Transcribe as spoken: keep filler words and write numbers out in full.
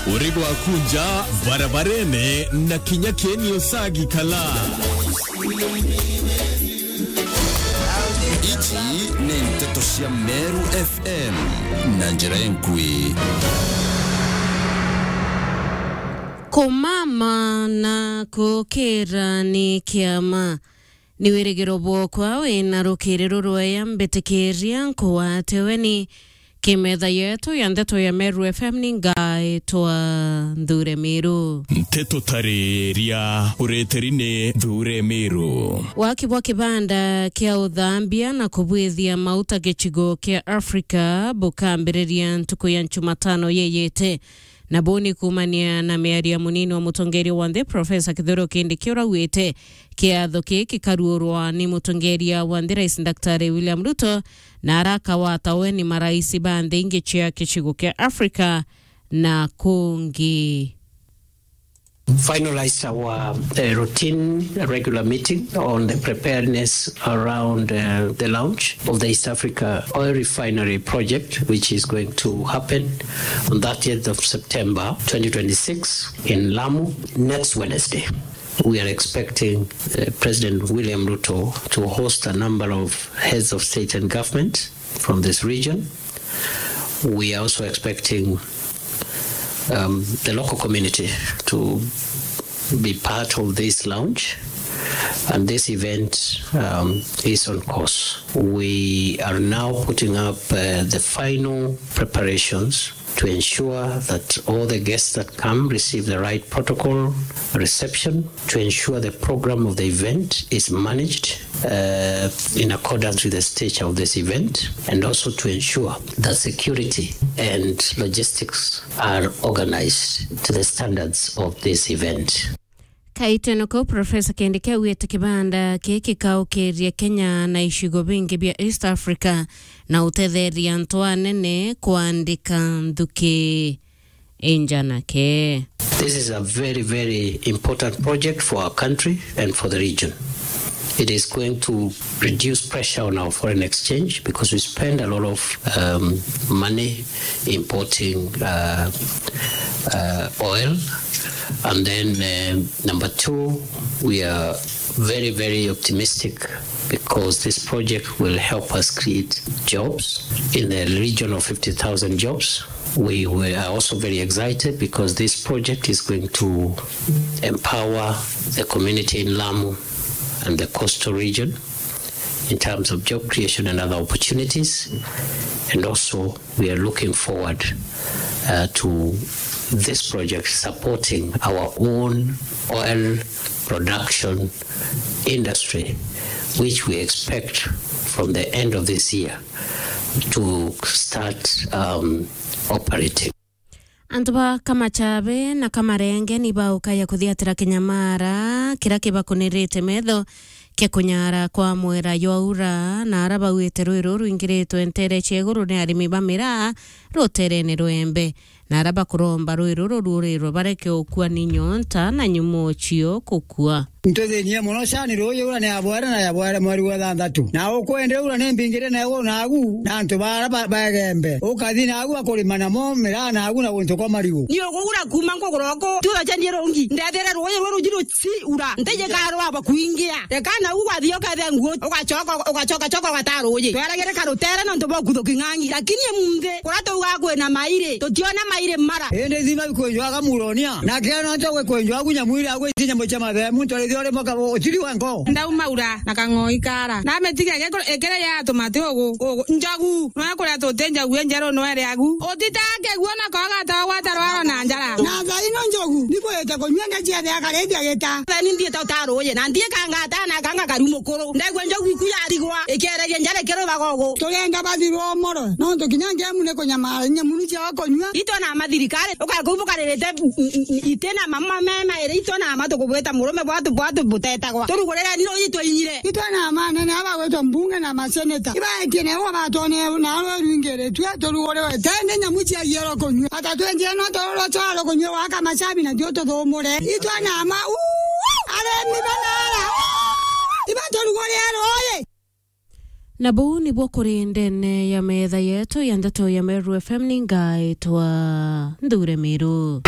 Uri gwakunja barabarene na kinya kieni usagi kala. Iji ni nteto cia Meru F M na njira enkui. Kumama na kukira ni kiama. Ni wirigiro bwokwa wina rukiri rurweya mbitikiria nkugwate weni. Kimetha yetu ya ndeto ya Meru F M ni ngaitwa Nthure Miru. Nteto tariria ureteri ni Nthure Miru. Waki bwa kibanda kia uthambia na kubwithia mauta gicigo kia Africa bukambiriria ntuku ya Njumatano yeyete. Na buu ni kuumania na miario ya munini wa mutongeria wa nthi, Profesa Kithure Kindiki, uria augite kiatho kii gikaruurwa ni mutongeria wa nthi, Rais Daktari William Ruto, na arakawata weni marais ba nthi ingi cia gicigo kia Africa na kungi. Finalized our, uh, routine regular meeting on the preparedness around, uh, the launch of the East Africa Oil Refinery Project, which is going to happen on thirtieth of September twenty twenty-six in Lamu next Wednesday. We are expecting, uh, President William Ruto to host a number of heads of state and government from this region. We are also expecting, um, the local community to be part of this launch, and this event, um, is on course. We are now putting up, uh, the final preparations to ensure that all the guests that come receive the right protocol reception, to ensure the program of the event is managed, uh, in accordance with the stature of this event, and also to ensure that security and logistics are organized to the standards of this event. Kaitene kau, Profesa Kindiki augite kibanda giki gikaukiria Kenya na icigo bingi bia East Africa na utetheria antu anene kwandika nthuki injanake. This is a very, very important project for our country and for the region. It is going to reduce pressure on our foreign exchange because we spend a lot of, um, money importing, uh, uh, oil. And then, um, number two, we are very, very optimistic because this project will help us create jobs in the region of fifty thousand jobs. We were, are also very excited because this project is going to empower the community in Lamu and the coastal region in terms of job creation and other opportunities. And also, we are looking forward, uh, to this project supporting our own oil production industry, which we expect from the end of this year to start, um, operating. Antu ba Kamachabe na Kamarenge ni baukaya kuthiatira kinyamara kiria kibakunirite metho kia kunyara kwa mwera jwa ura, na ara bauite rwi ruru rwingiritwe ntere cia iguru ni arimi ba miraa ruterene rwa Embe, na ara bakuromba rwi ruru ruurirwe bareke ukua ni nyonta na nyumo cio kukua. Ntuthinie mono cani ruuji ura ni ya bwere na ya bwere mweri wa thanthatu. Na ukwende ura ni mbingire na iguru nagu, na antu bara ba-, baegembe. Ukathi nagu akurima namo miraa nagu na guntu kwa marigu. Ni ugugura kuuma nkuguroko, tuthacanie rungi. Ndethire ruuji ruru jiru ci ura. Ntije karwa bakuingia. Reka nagu gwathi ukethe nguo, ugacoka, ugacoka, coka ugata ruuji. Tweragire karutere nontu bwa kuthuki ng'ang'i. Lakini emunthi, kuria tuuga kwina mairi, tutiona mairi mara. Indi thima bikwenjwaga muronia. Na keno nto gwe kwenjwa gunya mwiri agwe tinya mucha mathemu, ntorithio ri moka utiri wa nko. Ndauma ura na kang'oi kara. Na metiga gekoro ekere ya tumati ugu, ugu, njogu. Nwa kuria tuti njogu enjeru nwere agu. Utitake guo na koga to gwata rwaro na njara. Na thaino njogu, ni kwete kunywa ngecia thea karithia gita. Thani ndie to taruye, na ndie kangata na kanga karu mukuru. Ndegwe njogu iku yarigwa, ikiereria njara ikiruthaga ugu. Tugenda bathirwo moro, nontu kinya ngemu ni kunyamara, nyamunu cia kunywa. Itwe na mathirikari, ukakubu karirite ite na mama mema iri itwe na ma tukubwita murume bwatu bwatu butetagwa. Turugurire ni ruuji twinyire. Itwe na manene aba gwitwa mbunge na maseneta. Ibaetie na igwa batone na rwe rwingiritwe turuguriwe. Tende nyamu cia giero kunywa. Ata twenjire no tururwo twaro kunywa wa Kamachabi na tio tuthumure. Itwe na ma, uu, aremi banara, uu, iba turugurire ruuji. Na buu nibuo kuri ndene ya metha yetu ya ndeto ya Meru F M, ni ngaitwa Nthure Miru.